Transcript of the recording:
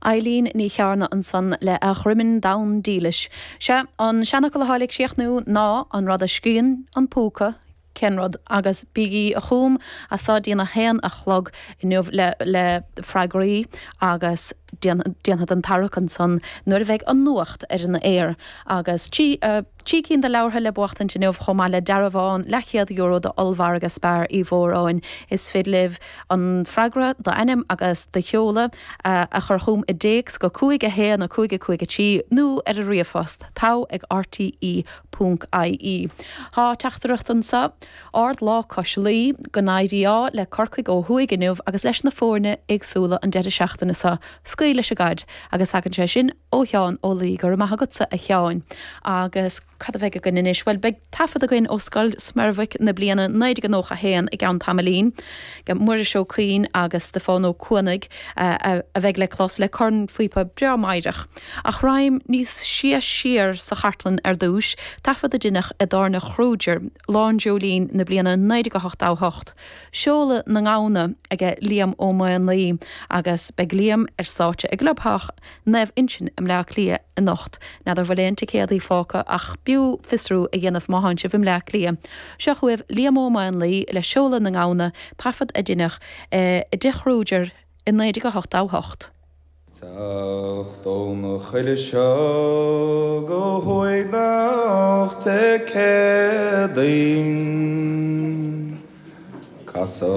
Eilín Ní Chearna ansan le A Dhroimin Donn Dílis. Sea, an seanfhocal atá le críochnú ná an rud a scríonn an púca, cén rud? Agus bígí chugam as so dtí'n 1 a chlog inniu le le freagraí agus déanfad an tarrac ansan nuair a bheidh an nuacht ar an aer. Agus trí. 3 cinn de leabhartha le buachtaint inniu chomh maith le dearbhán leathchéad euro d'ollmhargadh Spar Uí Mhóráin. Is féidir libh an freagra, d'ainm agus do sheoladh, a chur chugam i dtéacs go 5 1 5 5 3 nó ar an ríomhphost, togha ag rte ponc ie. Tá teachtaireacht anseo, Ard lá cois Laoi, go n-éirí ádh le Corcaigh ó thuaidh inniu agus leis na foirne éagsúla an deireadh seachtaine seo. Scaoil leis an gcaid! Agus tagann sé sin ó Sheán Ó Laoi. Go raibh maith agatsa, a Sheáin. Agus cad a bheidh againn anois? Bhuel, beidh taifead againn ó Scoil Smerwick na bliana 1991 i gceann tamaillín. Muiris Ó Cuinn agus Stiofán Ó Cuanaigh a bheidh le clos le cornphíopa breá meidhreach. Ach raghaim níos sia siar sa chartlann ar dtús, taifead a deineadh i dTábhairne Kruger, Lá an Dreoilín na bliana 1988. Seoladh na nGamhna aige Liam Ó Maonlaí agus beidh Liam ar stáitse i gClubtheach Naomh Uinseann i mBleá Cliath anocht. N'fheadar bhfuil aon ticéadaí fágtha ach b'fhiú fiosrú a dhéanamh má thánn sibh i mBleá Cliath. Seo chugaibh Liam Ó Maonlaí le Seoladh na nGamhna, taifead a deineadh i dTigh Kruger i 1988. Teacht óna choillidh seo go huaigneach Dé Céadaoin. Casadh.